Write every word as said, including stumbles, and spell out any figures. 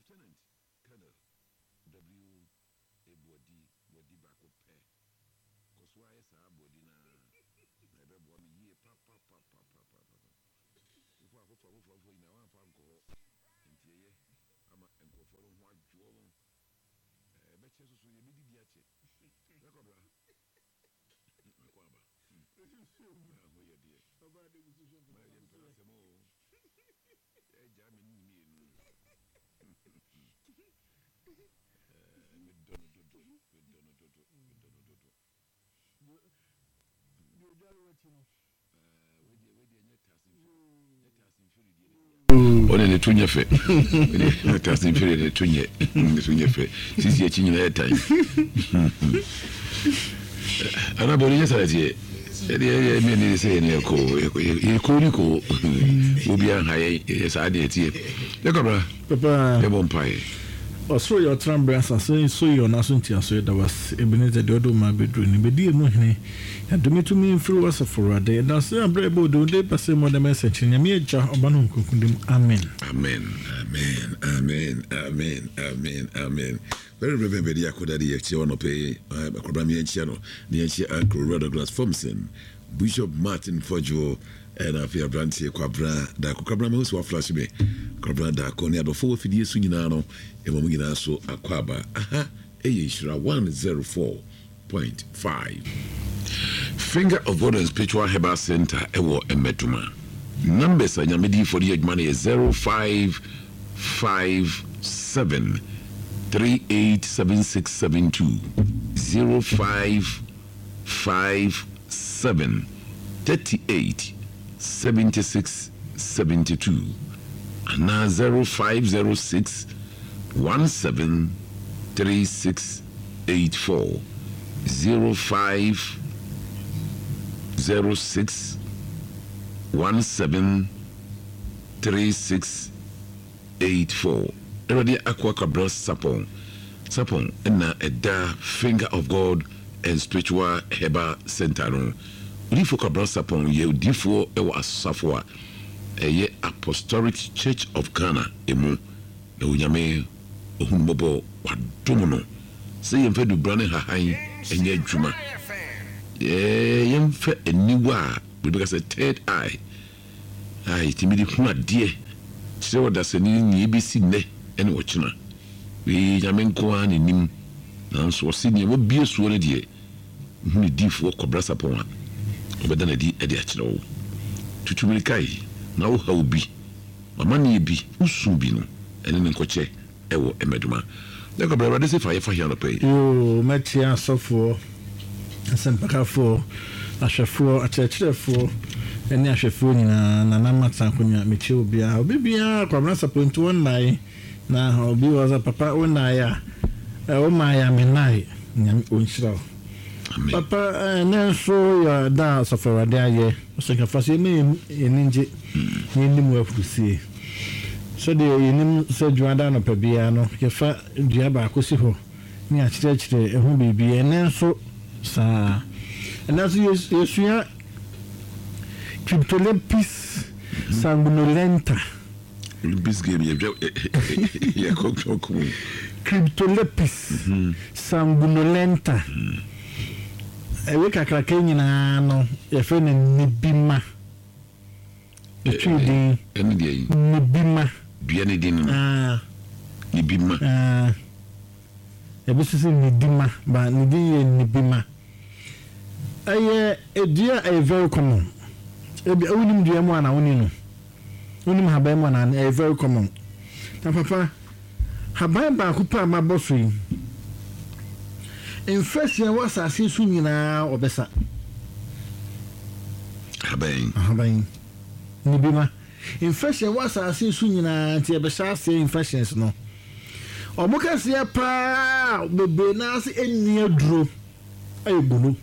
Lieutenant Colonel W. Ebuadi, Buadi baako pɛ. Kɔ so ayɛ saa Buadi no a, na ɛbɛboa me yie papapapapapa. Wofa afoforɔ afoforɔ afoforɔ nyinaa woamfa nkɔ hɔ. Nti ɛyɛ ama nkurɔfoɔ no ho adwoɔ wɔn. Ɛbɛkyɛ so so yɛbɛdidi akyɛ. Bɛkɔbra. Makɔ aba. Ho yɛ deɛ. Ma yɛmpɛ asɛm o. Ɛgya me ne mmienu. Medɔ no dodo. Medɔ no dodo. Medɔ no dodo. Deɛ odware w'akyi no. Wedeɛ wedeɛ nyɛ taase nyɛ taase mfiri deɛ ne bia. Ɔne ne to nyɛ fɛ. Nyɛ taase mfiri ne to nyɛ ne to nyɛ fɛ. Sisi akyi nyinaa yɛ tan. Ana bɔ ne nyɛ saa teɛ. Ɛdeɛ ɛdeɛ mi ni sɛ yɛn yɛ ko yɛ ko ni ko. Obi aha yɛ yɛ saa deɛ teɛ. Yɛ kɔbra. Papa. Yɛ bɔ mpaeɛ. Ɔsoro yɛ ɔtena berɛ, asase nso yɛ ɔno aso ntiaso. Yɛda wase, Ebenezer, deɛ ɔde wo ma abɛduru no bɛdi emu hene. Yɛadome tumi mfiri wo, asafo Awurade. Yɛda ase aberɛ a ɛbɔ wo de ba sɛ mu ɔdɛm ɛnsɛnkyerɛ Nyame Agya, Ɔba no Honhom Kronkron mu, amen. Amen, amen, amen, amen, amen, amen. Very Reverend Bedi Akoda de yɛkyia wɔ nɔpɛ yi, akɔbra mi yɛnkyia no, ne yɛnkyia Uncle Owura Douglas Thompson, Bishop Martin Fodjo, ɛna afei aberanteɛ Kwabena Daako. Kwabena, mahu sɛ waflash me. Kwabena Daako ne adɔfo wɔ afidie so nyinaa no, ɛma mu nyinaa so akɔ aba. Aha, ɛyɛ Nhyira one zero four point five. Finger of God and Spiritual Herbal Center ɛwɔ Mmɛdoma. Numbers a Nyame diifoɔ de yɛ adwuma no yɛ zero five five seven three eight seven six seven two, zero five five seven thirty-eight seventy-six seventy-two anaa zero five zero six seventeen thirty-six eighty-four, zero five zero six seventeen thirty-six eighty-four. Awurade akoa Kwabena Sapɔn Sapɔn ɛna ɛda Finger of God and Spiritual Herbal Center no. Odiyifoɔ Kwabena Sapɔn yɛ odiyifoɔ ɛwɔ asafo a ɛyɛ Apostolic Church of Ghana emu, na Onyame ohunu mmɔbɔ wadom no sɛ yɛmfa dubra ne hahan ɛnyɛ adwuma, yɛmfa aniwa a biribi ka sɛ third eye a yɛtumi de hu adeɛ kyerɛ ɔdasani nea ebɛsi nnɛ ɛne ɔkyena. Wei Nyame nko ara n'anim, nanso ɔse nea wabie soɔ no deɛ, hu ne diifoɔ Kɔbra Sapɔn a ɔbɛda n'adi de akyerɛ wo. Tutu mirika yi na wohaw bi, amanneɛ bi, wosu bi no, ɛne ne nkɔkyɛ ɛwɔ Mmɛdoma. Na kɔbra, Awurade sɛ fa yɛfa hia nɔpɛ yi. Yoo, mɛkyia asɔfoɔ, asɛmpakafoɔ, ahwɛfoɔ, akyerɛkyerɛfoɔ ne ahwɛfoɔ nyinaa. Nana Mata akonnwa, mekyia obiara, obi biara. Kwabena Sapɔ nti wɔnnae na obi wɔ sɛ papa wonnae a womaeɛ a mennae. Nyame ɔnhyira wo. Amen. Papa, ɛnɛ nso yɛ da a asafo Awurade ayɛ. Ɔsɛnkafa so yɛma yɛni ngye na yɛnim wɔ afurusie sɛdeɛ yɛnim sɛ dwuada anɔpa biara no yɛfa dua baako si hɔ ne akyerɛkyerɛ ɛho biribi. Ɛnɛ nso saa, ɛnɛ nso yɛs- yɛsua Cryptolepis sanguinolenta. Olympics game yɛdwa yɛkɔtɔ kum. Cryptolepis sanguinolenta, ɛwe kakraka nyinaa no yɛfrɛ no nibima. Ɛtwi din. Ɛne deɛ yi? Nibima. Dua ne din no? Ah. Ne bi ma. Ah, ebi nso sɛ nidima ba ne din yɛ nibima. Ɛyɛ edua a ɛyɛ very common. Ebi wonim dua mu ana woni no, wonim haban mu ana? Ɛyɛ very common. Na papa, haban baako pɛ a mabɔ so yi, mfɛsia wɔ asase so nyinaa ɔbɛsa. Haban? Haban nibima, infection wɔ asase so nyinaa, nti yɛbɛhyɛ aseɛ infections no. Ɔmo kɛseɛ paa bebree naa se ɛnni aduro ɛyɛ gono.